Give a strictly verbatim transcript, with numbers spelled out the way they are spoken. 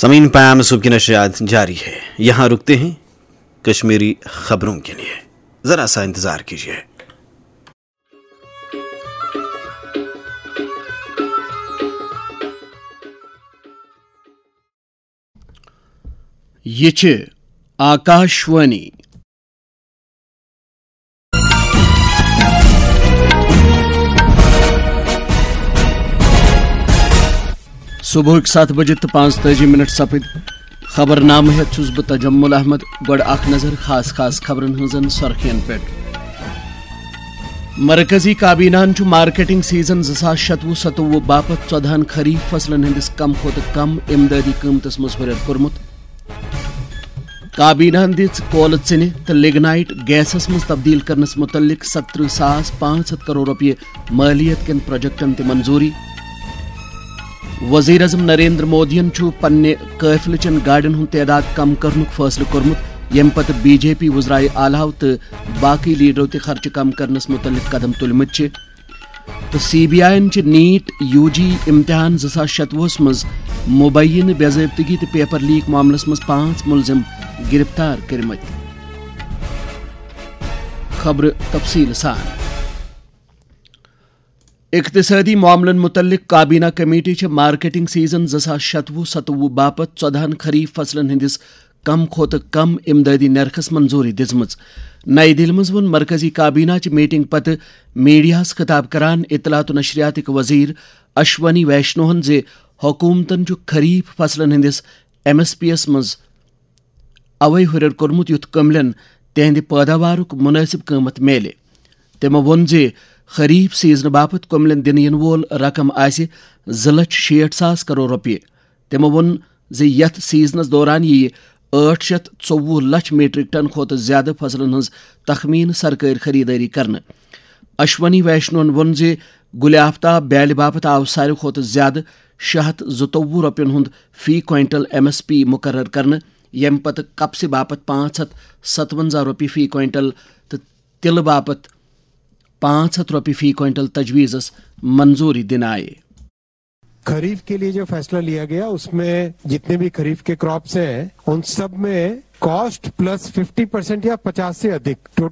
سامعین، پیم صبح کی نشریات جاری ہے، یہاں رکتے ہیں کشمیری خبروں کے لیے، ذرا سا انتظار کیجیے۔ یہ چھ آکاشوانی۔ صبحٕکۍ ستھ بجہِ تہٕ پانٛژتٲجی منٹ سپٕدۍ۔ خبرنامہٕ ہٮ۪تھ چھُس بہٕ تجمل احمد۔ گۄڈٕ اکھ نظر خاص خاص خبرن ہٕنٛزن سرخین پٮ۪ٹھ۔ مرکزی کابیناہن چھُ مارکیٹنگ سیزن زٕ ساس شتوُہ ستوُہ باپتھ ژۄدہن خریف فصلن ہٕنٛدِس کم کھۄتہٕ کم امدادی قۭمتس منٛز ہُرٮ۪ر کوٚرمُت۔ کابیناہن دِژ کولہٕ ژِنہِ تہٕ لگنائٹ گیسس منٛز تبدیل کرنس متعلق ستترہ ساس پانٛژھ ہتھ کرور رۄپیہِ مٲلیت کٮ۪ن پروجیکٹن تہِ منظوٗری۔ وزیر اعظم نریندر مودیَن چھُ پننہِ قٲفلہٕ چٮ۪ن گاڑٮ۪ن ہُنٛد تعداد کم کرنُک فٲصلہٕ کوٚرمُت، ییٚمہِ پتہٕ بی جے پی وزرائے اعلیٰ تہٕ باقٕے لیڈرو تہِ خرچہٕ کم کرنس متعلق قدم تُلمٕتۍ چھِ۔ تہٕ سی بی آئی یَن چھِ نیٹ یو جی امتحان زٕ ساس شتوُہس منٛز مبینہ بے ضٲبطگی تہٕ پیپر لیک معاملس منٛز پانٛژھ ملزم گرفتار کٔرمٕتۍ۔ خبرٕ تفصیٖل سان۔ اقتصٲدی معاملن متعلق کابینہ کمیٹی چھِ مارکیٹنگ سیزن زٕ ساس شتوُہ ستوُہ باپتھ ژۄدہن خریف فصلن ہٕنٛدِس کم کھۄتہٕ کم امدادی نرخس منظوٗری دِژمٕژ۔ نئی دِلہِ منٛز ووٚن مرکزی کابینہ چہِ میٹنگ پتہٕ میڈیاہس خطاب کران اطلاعات و نشریاتٕکۍ وزیر اشونی ویشنوہن زِ حکومتن چھُ خریف فصلن ہٕنٛدِس ایم ایس پی یَس منٛز اوے ہُرٮ۪ر کوٚرمُت یُتھ کٔملٮ۪ن تِہنٛدِ پٲداوارُک مُنٲسِب قۭمتھ میلہِ۔ تِمو ووٚن زِ خریف سیزنہٕ باپتھ کٔملٮ۪ن دِنہٕ یِنہٕ وول رقم آسہِ زٕ لچھ شیٹھ ساس کرور رۄپیہِ۔ تِمو ووٚن زِ یَتھ سیزنَس دوران یِیہِ ٲٹھ شیتھ ژوٚوُہ لچھ میٹرک ٹن کھۄتہٕ زِیٛادٕ فصلن ہٕنٛز تخمینہٕ سرکٲرۍ خریدٲری کرنہٕ۔ اشونی ویشنون ووٚن زِ گُلہِ آفتاب بیالہِ باپتھ آو ساروی کھۄتہٕ زِیٛادٕ شےٚ ہتھ زٕتووُہ رۄپین ہُنٛد فی کوینٹل ایم ایس پی مُقرر کرنہٕ، ییٚمہِ پتہٕ کپسہِ باپتھ پانٛژھ ہتھ ستونزہ رۄپیہِ فی کوینٹل تہٕ تِلہٕ باپتھ پانٛژھ ہتھ رۄپیہِ فی کوینٹل تجویزس منظوٗری دِنہٕ آیہِ۔ खरीफ के लिए जो फैसला लिया गया, उसमें जितने भी खरीफ के क्रॉप्स हैं, उन सब में कॉस्ट प्लस फिफ्टी परसेंट या पचास से अधिक टोटल